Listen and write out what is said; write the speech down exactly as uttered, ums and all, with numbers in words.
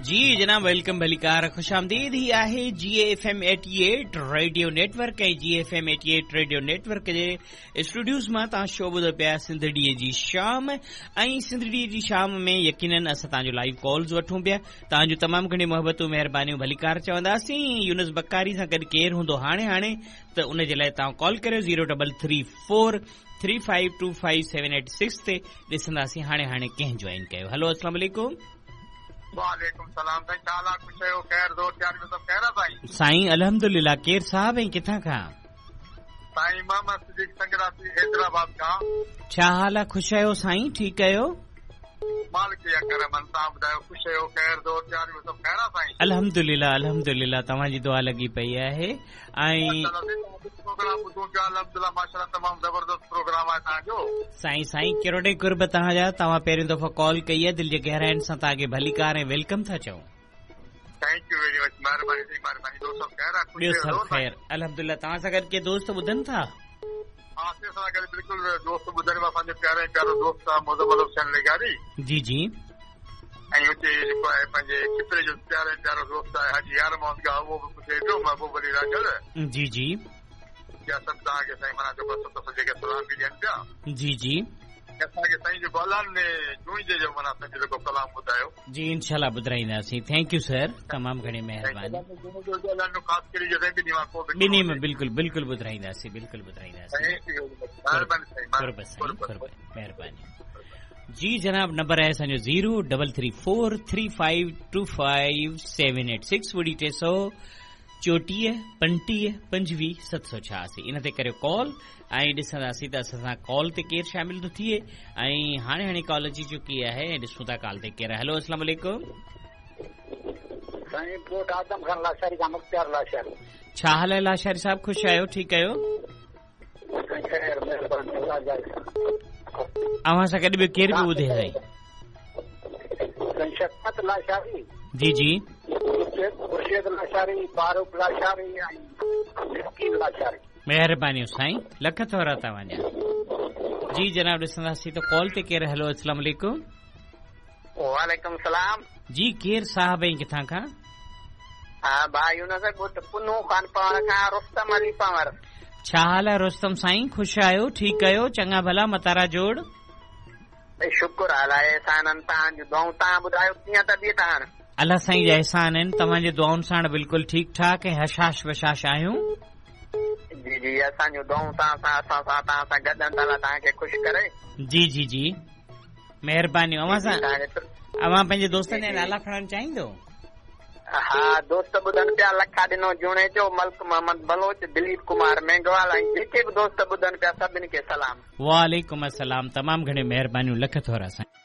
जी जनाब, welcome भलीकार खुश आमदीद। ही आहे G F M eighty eight radio network ऐं G F M eighty eight radio network जे स्टूडियोज़ मां तव्हां शो ॿुधो पिया सिंधड़ीअ जी शाम। ऐं सिंधड़ीअ जी शाम में यकीनन असां तव्हांजो लाइव कॉल्स वठूं पिया। तव्हांजूं तमामु घणियूं मोहबतूं महिरबानियूं भलीकार चवंदासीं। यूनुस बकारी सां गॾु केरु हूंदो हाणे हाणे त उन जे लाइ तव्हां कॉल करियो zero double three four three five two five seven eight six ते। ॾिसंदासीं हाणे हाणे कंहिं जॉइन कयो। हलो, अस्सलाम वालेकुम। वालेकुम सलाम साईं, छा हाल आहे? ख़ुशि आहियो? ख़ैर ज़ोर प्यार में सभु ख़ैर आहे साईं? साईं अल्हम्दुलिल्लाह। केरु साहब ऐं किथां खां? साईं मोहम्मद सिद्दीक संगरासी हैदराबाद खां। छा हाल आहे? ख़ुशि आहियो साईं? ठीकु आहियो? मालिक जा करम आहिनि, तव्हां ॿुधायो, ख़ुशि आहियो? ख़ैर ज़ोर प्यार में सभु ख़ैर आहे साईं? अल्हम्दुलिल्लाह अल्हम्दुलिल्लाह, तव्हांजी दुआ लॻी पई आहे। ऐं प्रोग्राम ॿुधूं पिया, अल्हम्दुलिल्लाह माशाअल्लाह तमामु ज़बरदस्त प्रोग्राम आहे तव्हांजो। साईं साईं किरोड़े कुर्ब तव्हांजा, तव्हां पहिरियों दफ़ो कॉल कई आहे, दिलि जे गहराइनि सां तव्हांखे भलीकार ऐं welcome था चऊं। Thank you very much, महिरबानी साईं, महिरबानी। ॿियो सभु ख़ैर आहे? ॿियो सभु ख़ैर अल्हम्दुलिल्लाह। तव्हां सां गॾु के दोस्त ॿुधनि था? हा, असां गॾु बिल्कुलु दोस्त ॿुधनि, असांजो प्यारो ऐं प्यारो दोस्त आहे मोहम्मद हुसैन लिगारी। जी जी। ऐं उते जेको आहे पंहिंजे खिपरे जो प्यारो ऐं प्यारो दोस्त आहे हाजी यार मोहम्मद गा, उहो बि ॿुधे पियो, महबूब अली राजल। जी जी। या सभु तव्हांखे साईं माना जेको सभु जेके सलाम बि ॾियनि पिया। जी जी। असांखे साईं जेको अलाह ने जुणिजे जो माना असांखे जेको कलाम ॿुधायो। जी इंशाल्लाह ॿुधाईंदासीं। Thank you sir, तमामु घणी महिरबानी। ॿिन्ही में बिल्कुलु बिल्कुलु ॿुधाईंदासीं, बिल्कुलु ॿुधाईंदासीं। महिरबानी जी जनाब। नंबर आहे असांजो zero double three four three five two five seven eight six ॿुड़ी टे सौ चोटीह पंटीह पंजवीह सत सौ छयासी। इन ते करियो कॉल ऐं ॾिसंदासीं त असां सां कॉल ते केरु शामिल थो थिए। ऐं हाणे हाणे कॉल अची चुकी आहे ऐं ॾिसूं था कॉल ते केरु आहे। हलो, अस्सलाम वालेकुम। साईं ॻोठ आदम खान लाशारी खां मुख्तियार लाशारी। छा हाल आहे लाशारी साहिबु? ख़ुशि आहियो? ठीकु आहियो? अव्हां सां गॾु ॿियो केरु बि ॿुधे साईं? शफ़क़त लाशारी। जी जी। खुर्शीद लाशारी, फारूक लाशारी ऐं मिस्कीन लाशारी। महिरबानियूं साईं, लख थोरा तव्हांजा। जी जनाब, ॾिसंदासीं त कॉल ते केरु। हलो, अस्सलाम वालेकुम। वालेकुम सलाम। जी केरु साहब ऐं किथां खां? हा भाई यूनुस ॻोठ पुनू खान पंवर खां, रुस्तम अली पंवर। छा हाल आहे रुस्तम साईं? ख़ुशि आहियो? ठीकु आहियो? चङा भला मतारा जोड़? शुक्र अलाह एहसाननि तव्हांजूं दुआऊं। तव्हां ॿुधायो कीअं तबियत हाणे? अलाह साईं जा एहसान आहिनि, तव्हांजे दुआउनि साण बिल्कुलु ठीकु ठाक ऐं हशाश बशाश आहियूं। जी जी, असांजूं दुआऊं तव्हां सां असां सां तव्हां सां गॾु आहिनि, अलाह तव्हांखे ख़ुशि करे। जी जी जी, महिरबानी। अव्हां सां अव्हां पंहिंजे दोस्तनि जा नाला खणणु चाहींदो? हा, दोस्त ॿुधनि पिया, लखा ॾिनो जुणेजो, मल्क मोहम्मद बलोच, दिलीप कुमार मेघवाल ऐं जेके बि दोस्त ॿुधनि पिया सभिनी खे सलाम। वालेकुम अस्सलाम। तमामु घणियूं महिरबानियूं, लख थोरा साईं।